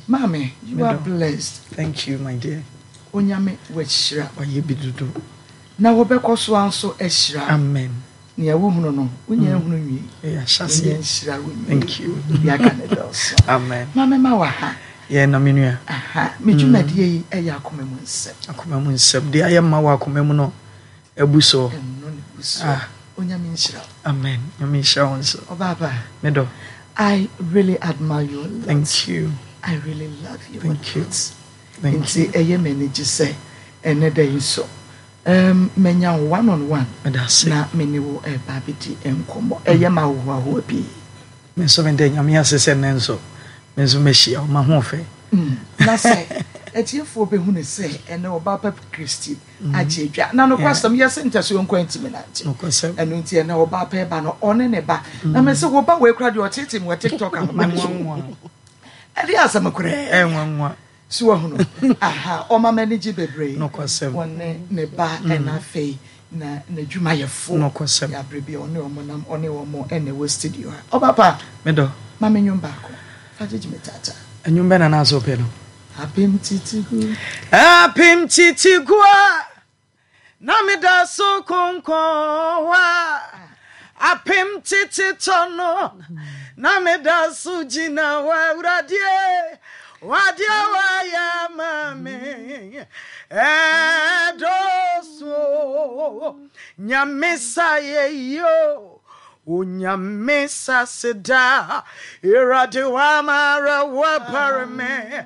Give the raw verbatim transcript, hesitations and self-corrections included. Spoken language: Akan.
Maame, you are Medɔ. blessed. Thank you, my dear. Onyame wahyira. Wayɛ bi dodo. Na wɔbɛkɔ so a nso ahyira. Amen. Nea wohunu no, wonya nhunu nwie. Ɛyɛ Wonya ahyɛseɛ. nhyira wo nwie. Thank you. Yɛaka ne dɔɔso. Amen. Maame, ma wɔ ha. Yɛn na me nua. Aha, me dwumadie yi ɛyɛ Akoma Mu Nsɛm. Akoma mu nsɛm deɛ ayɛ ma wɔ akoma mu no abu soɔ. Ɛno ne bu so. Ah. Onyame nhyira wo. Amen. Nyame nhyira wo nso. Ɔbaaba. Medɔ. I really admire you a lot. Thank you. I really love you Thank a you. lot. Thank Nti you. ɛyɛ m'ani gye sɛ ɛnɛ da yi nso um, manya wo one on one Meda ase. na me ne wo ɛba abɛdi nkɔmmɔ. Ɛyɛ ma ahohoahoa pii. Me nso meda Nyame ase sɛ nnɛ nso me nso mahyia wo, mahoɔfɛ. Mm. Na sɛ atiefoɔ bɛhu ne sɛ ɛnɛ ɔbaa pa Kristi agye adwa na nokwasɛm yɛsɛ ntɛsoɔ nkwa ntimi nante. Nokwasɛm. Ɛno nti ɛnɛ ɔbaa pa ɛba no, ɔne ne ba na mɛ sɛ wɔba wei kora deɛ, ɔtete mu wɔ TikTok ahoma no so. Nwanwa. Ɛde asɛm koraa. Ɛnwanwa. So wahunu aha, ɔma m'ani gye bebree. Nokwasɛm. Wɔne ne ba ɛna afei na n'adwumayɛfoɔ. Nokwasɛm. Yɛaberɛ bi a ɔne ɔmo nam, ɔne ɔmo ɛna ɛwɔ studio ha. Ɔba pa. Medɔ. Ma me nwom baako fa gyegye me tata. Ɛnwom bɛ na na asɛ wopɛ no? Apem Titigu. Apem titigu a na meda so konkɔn wa, apem tete tɔ no na meda so gyina hɔ. Awuradeɛ, wadeɛ wayɛ ama me ɛdɔso. Nyame sa yɛ yio, Onyame sa seda, Awurade wamara wapare me.